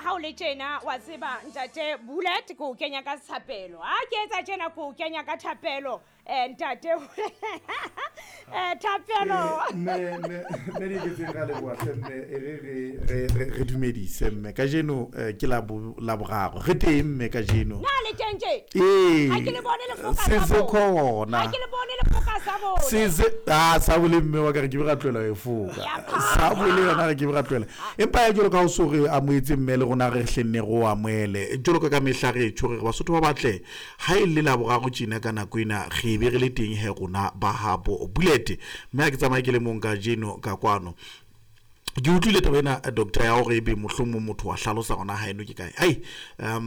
ha o le tjena wa tseba ntate Bullet ke o kenya ka thapelo. Ha ke etsa tjena ke o kenya ka thapelo. Ntate thapelo. Mme mme mme di ke ra leboha hle mme e re re re re re dumedise mme kajeno ke la la boraro re teng mme kajeno. Na le teng tje? Ee. Ha ke le bone le foka Se sa se bone. khona. Ha ke le bone le foka sa bone. Se se ah sa bole mme wa ka re ke be ra tlohela ho e foka. Ya phara. Sa bole yona re ke be ra tlohela. Empa ya jwalo ka ho so re amohetse mme le rona re hlenne re o amohele. Jwalo ka ka mehla re tjho re re Basotho ba batle ha e le la boraro tjena ka nako ena re be re le teng he rona ba habo Bullet. Mme ha ke tsamaye ke le mong kajeno ka kwano. Ke utlwile taba ena doctor ya hore ebe mohlomong motho wa hlalosa hona haeno ke kae. Ai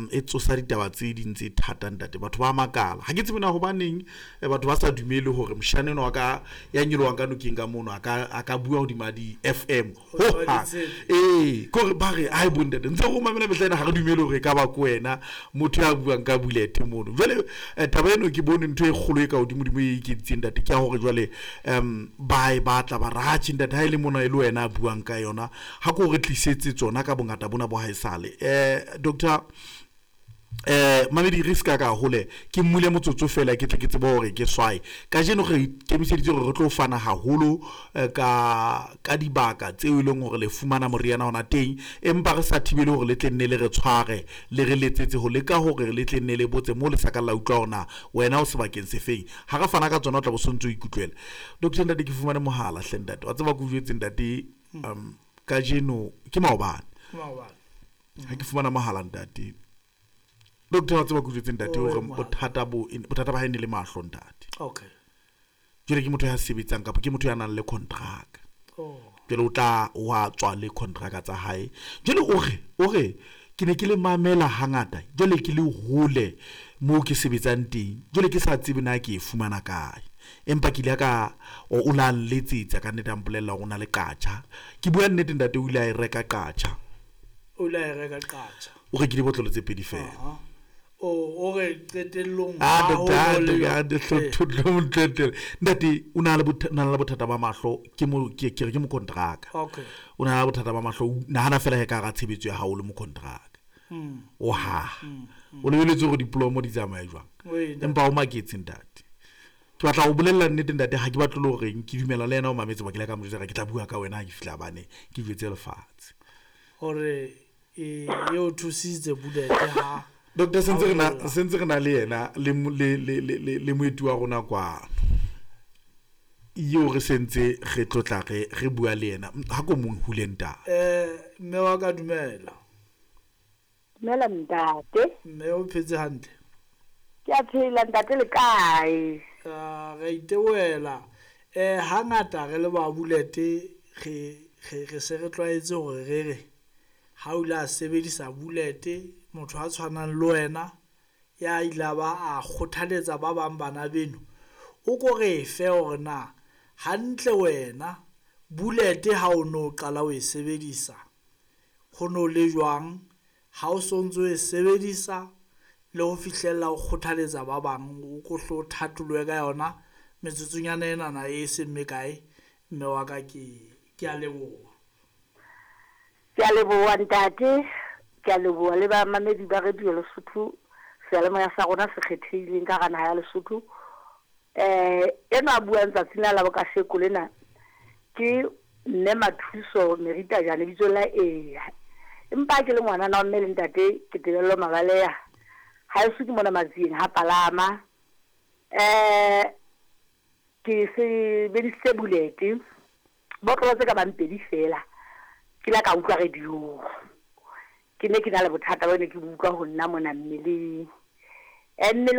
e tsosa ditaba tse ding tse thata ntate. Batho ba makala. Ha ke tsebe na hobaneng batho ba sa dumele hore moshana enwa wa ka ya nyolohang ka nokeng ka mono a ka bua hodima di FM. Hodima Ho hang. ditshepe. Ee, ke hore ba re ai bo ntate ntse re o mamela mehla ena ha re dumele hore e ka ba ke wena motho ya buang ka Bullet mono. Jwale taba eno ke bone ntho e kgolo e ka hodimodimo e ikentseng ntate ke ya hore jwale ba e batla ba re atjhe ntate ha e le mona e le wena a buang ka yona ha ko re tlisetse tsona ka bongata bona bo haesale. Doctor mamedi re ska ka hole ke mmule motsotso fela ke tle ke tsebe hore ke swae. Kajeno re ikemiseditse hore re tlo fana haholo ka dibaka tseo e leng hore le fumana moriana ona teng, empa re sa thibele hore le tle nne le re tshware le re letsetse ho leka hore le tle nne le botse mo le sa ka la utlwa hore na wena o sebakeng se feng. Ha re fana ka tsona o tla bo sontso o ikutlwela. Doctor ntate ke fumane mohala hle ntate. Wa tseba ke o jwetse ntate kajeno ke maobane. Ke maobane. Ha ke fumana mohala ntate. Doctor wa tseba ke o jwetse ntate O hore mohala. bothata ba hae ne le mahlo ntate. Okay. Jwale ke motho ya sebetsang kapa ke motho ya nang le contract. Oh. Jwale o tla wa tswa le contract tsa hae. Jwale o re ke ne ke le mamela hangata. Jwale ke le hole moo ke sebetsang teng. Jwale ke sa tsebe na ke e fumana kae. Empa ke ile ka o la nletsetsa ka nnete a mpolella hore o na le qatjha. Ke bua nnete ntate o ile a e reka qatjha. O ile a e reka qatjha. O rekile botlolo tse pedi fela. Aha. O re qetellong Ah, ha ho doctor, le doctor, Eh. doctor, ntate o na le na le bothata ba mahlo ke mo ke ke re ke mokontraka. Okay. O na le bothata ba mahlo, o nahana fela he ka hara tshebetso ya hao le mokontraka. O ha. O lebeletse hore diplomo di tsamaye jwang. Wee, ntate. Empa o maketse ntate. Ke batla ho bolella nnete ntate ha ke batle le hore ke dumela le yena o mametse ba ke ile ka mo jwetsa ke tla bua ka wena ha ke fihla bane ke jwetse lefatshe. Hore e o thusitse Bullet ha Doctor sentse re na le yena le le le le le moeti wa rona kwano. Eo re sentse re tlotla re re bua le yena ha ko mong hule ntate. Mme wa ka dumela. Dumela ntate. Mme o phetse hantle. Ke a phela ntate le kae? Re itebohela. Hangata re le ba Bullet re se re tlwaetse hore re re ha o ile a sebedisa Bullet motho a tshwanang le wena ya ile ba a kgothaletsa ba bang bana beno o ko re fe hore na hantle wena Bullet ha o no qala o e sebedisa ho no le jwang ha o sontso e sebedisa le ho fihlella o kgothaletsa ba bang o ko hlo thatoloe ka yona metsotsonyana enana e seng mekae mme wa ka ke a leboha. Ke a leboha ntate, ke a leboha le bamamedi ba Radio Lesotho, seyalemoya sa rona se kgethehileng ka hara naha ya Lesotho. Enwa a buang tsatsing la bokasheko lena ke mme Mathuso Merita Jane lebitso la Eya. Empa ke le ngwanana wa mme le ntate ke Tebello Mabaleha. Haeso ke mona Matsieng ha Palama. Ke sebedisitse Bullet botlolo tse ka bang pedi fela. Ke la ka utlwa radio. Ke ne ke na le bothata bo ne ke utlwa ho nna mona mmeleng. Mmele